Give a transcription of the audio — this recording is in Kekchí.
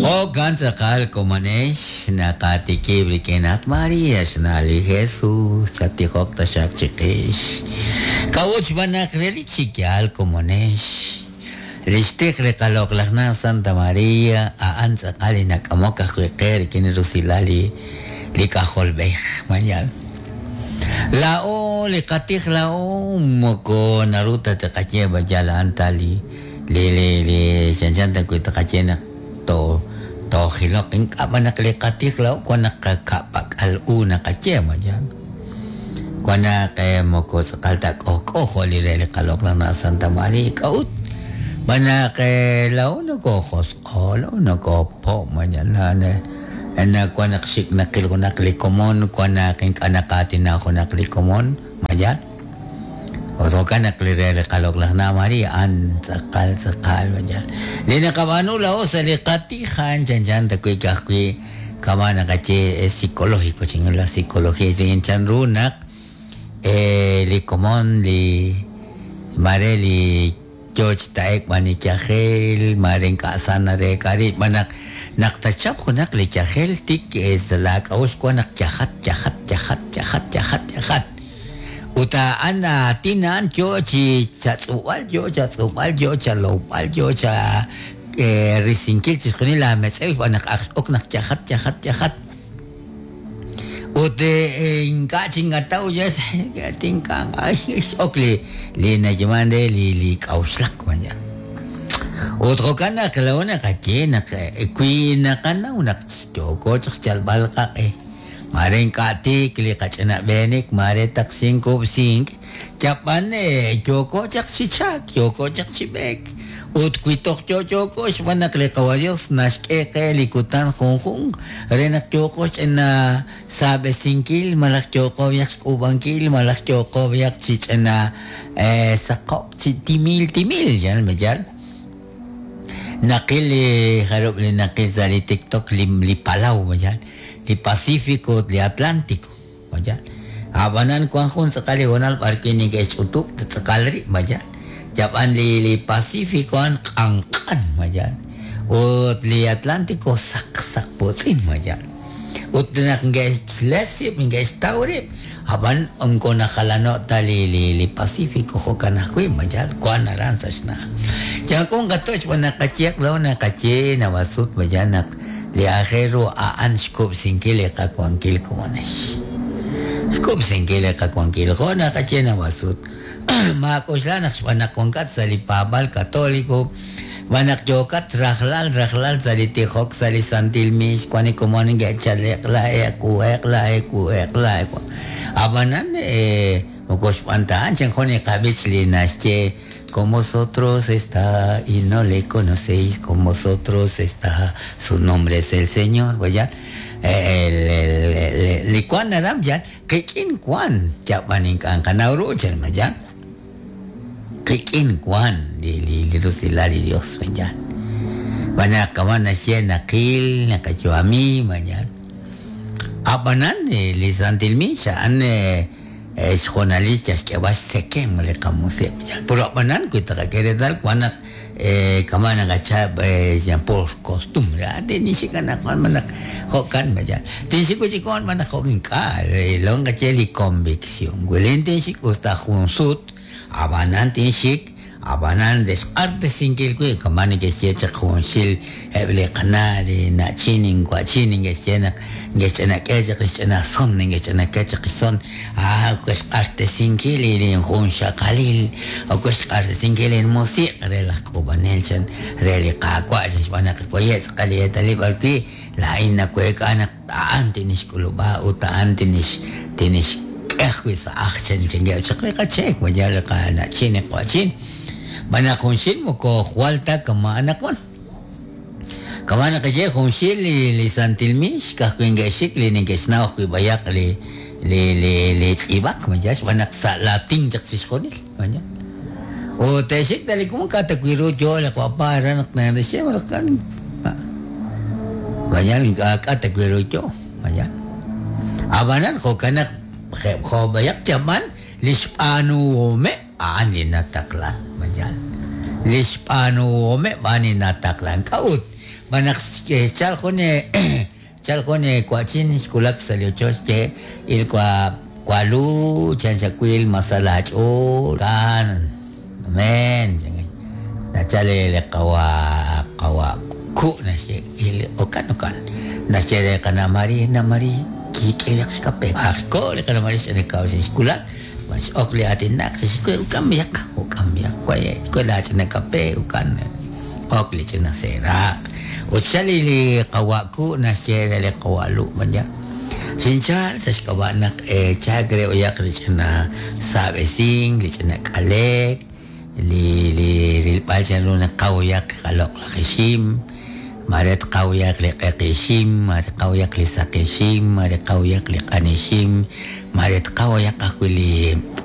Jo'kan tz'aqal komonex naqatikib' rik'in at María xna' li Jesús chattijoq taxaq chiqix. K'a'ut xb'aan naq relik chi yaal komonex li xtij li qaloq'laj na' Santa María a'an tz'aqal li nak'amok ajwi' qe rik'in li rusilal li li K'ajolb'ej. Ma yaal? Laa'o li qatij laa'o moko naru ta tqaye ma yaal a'an ta li li li li chanchan ta wi' tqaye naq to toojiloq ink'a' b'an naq li qatij laa'o wan naq qaka'pak'al u naqaye ma yaal? Wan naq moko tz'aqal ta k'ojk'o jo' li re li qaloq'laj na' Santa María. K'a'ut? Xb'aan naq laa'o nokoojosq'o, laa'o nokoopo' ma yaal? Na wan naq xik' naqil junaq li komon, wan naq ink'a' naqaatina junaq li komon, ma yaal? Ut jo'kan naq li re li qaloq'laj na' María a'an tz'aqal tz'aqal, ma yaal? Li naqab'aanu laa'o sa' li qatij a'an chanchan ta wi' ka'ajwi' kama' naqaye es psicológico chin la psicología chin chanru naq li komon li maare li Yoo chi ta'e'k b'an li yajel, maare ink'a' sa nareek'a rib', xb'aan naq, naq tachap junaq li yajel tik sa' laak'a'uxl wan naq yajat, yajat, yajat, yajat, yajat, yajat. Ut a'an aatin a'an yoo chi chatz'ub'al, yoo chatz'ub'al, yoo chalowb'al, yoo cha risinkil chixjunil laametz'ew xb'aan naq ak x'ok naq yajat, yajat, yajat. Ut ink'a' chinkataw tinkamq x'ok li li nayeeman re li li k'a'uxlak vaya. Ut jo'kan naq laa'o naqaye naq wi naqanaw naq yooko chaq xyalb'al qaq'e, maare ink'a' tiik li qach'ina b'eenik, maare taqsink kub'sink, yab'an yooko chaq chi chalk, yooko chaq chi b'eek. Ut wi toj yo'yooko xb'aan naq li Qawa' Dios naxk'e qe li kutan junjunq re naq yooqo ch'ina saab'esinkil malaj yooqo b'ayaq xk'uub'ankil malaj yooqo b'ayaq chi ch'ina saqo'k chi timil timil, yaal ma yaal? Naqil li jarub' li naqil sa' li TikTok li li palaw ma yaal? Li Pacifico ut li Atlantico ma yaal? A'b'anan wan jun tz'aqal li hoonal b'ar wi' neke'xch'utub' tz'aqal rib' ma yaal? Yab'an li li Pacifico a'an q'anq'an ma yaal? Ut li Atlantico saq saq putz'in ma yaal? Ut naq neke'xles rib' neke'xtaw rib', ab'an moko najalano' ta li li li Pacifico jo'kan ajwi' ma yaal? Wan aran sa' xna'aj. Yaak'un qatoch' xb'aan naq qayehaq laa'o naqaye naab'al sut ma yaal naq Li aajel ru a'an xkub'sinkil li qawankil komonex. Xkub'sinkil li qawankil jo' naqaye naab'al sut. Maak'oxla naq xb'aan naq wankat sa' li paab'aal Katoliko, xb'aan naq yookat rajlal rajlal sa' li tijok sa' li santil miix, wan li komon neke'chal eq'la eq'u, eq'la ewu, eq'la ewu. A'b'anan, moko xb'aan ta a'an, chan jun li qab'ich li naxye, Con vosotros está y no le conocéis, con vosotros está, su nombre es el Señor. Vaya, el, li wan naram yan, qik'in wan, yab'an ink'a' nqanaw ru chan mayan. Qik'in wan li li li rusilal li Dios mayan. B'an kama naxye naqil, naqayu'ami mayan. Ab'anan li Santil Miix a'an Xhoonalil yal xk'eeb'al xtzekemq li qamusiq'. Yal puro ab'anan wi taqak'e reetal wan naq kama' naqachap por costumbre, ah tinxik anaqwan malaj jo'kan ma yaal. Tinxik wi' chik wan malaj jo' ink'a', lo nqaye li convicción. Wi laa'in tinxik us ta jun sut, ab'anan tinxik Ab'anan re xq'artesinkil wib' kama' neke'xye chaq junxil eb' li qana' li na'chin inwa'chin neke'xye naq neke'xch'inak'e chaq li xch'ina son neke'xch'inak'e chaq li xson aa ok xq'artesinkil li linjunxaqalil ok xq'artesinkil linmusiq' re laj k'uub'anel chan re li Qaawa' chan xb'aan naq waye' tz'aqal li eetalil b'ar wi' laa'in naweek'a naq A'an tinixk'ulub'a ut a'an tinix tinixk'e ajwi' sa' ajl chan chankeb' chaq li qacheek, ma yaal li qana'chin li qwa'chin. Xb'aan naq junxil moko jwal ta kama' anaqwan. Kama' naqaye junxil li li santil miix ka'ajwi' neke'xik li neke'xnaw ajwi' b'ayaq li li li li tz'iib'ak, ma yaal, xb'aan naq sa' latin chaq chixjunil, ma yaal. Ut te'xik ta li komon k'a' ta wi' ru yoo li q'opa re naq naxye malaj k'a' Mañana ink'a' k'a' ta wi' ru yoo, mañana. Ab'anan jo'kan naq jo' b'ayaq yab'an li xb'aanuhomeb' a'an li nataqlan, mañana. Li xb'aanuhomeb' a'an li nataqlan. K'a'ut? Xb'aan naq xchal jun chal jun wa'chin xwulak sa' li ochoch ye il wa walu chan xawil masal aach'ool kan men nachal li qawa qawa ku naxye il okan okan naxye re qana Mari na Mari kik'eeq xkape ajko li qana Mari xch'ina kaw xwulak ok li aatinak xwe ukan b'iyaq ukan b'iyaq waye xwe la ch'ina kape ukan ok li ch'ina seeraq ut xal li qawa ku naxye re li qawa lu manya xinchal sa' xk'ab'a' naq chaak re oyaq li ch'ina saab'esink li ch'ina k'alek li li rilb'al chanru naq qawoyaq qaloq' laj ixim mare tqawoyaq li q'eq ixim mare tqawoyaq li saq ixim mare tqawoyaq li q'an ixim mare tqawoyaq ajwi' li.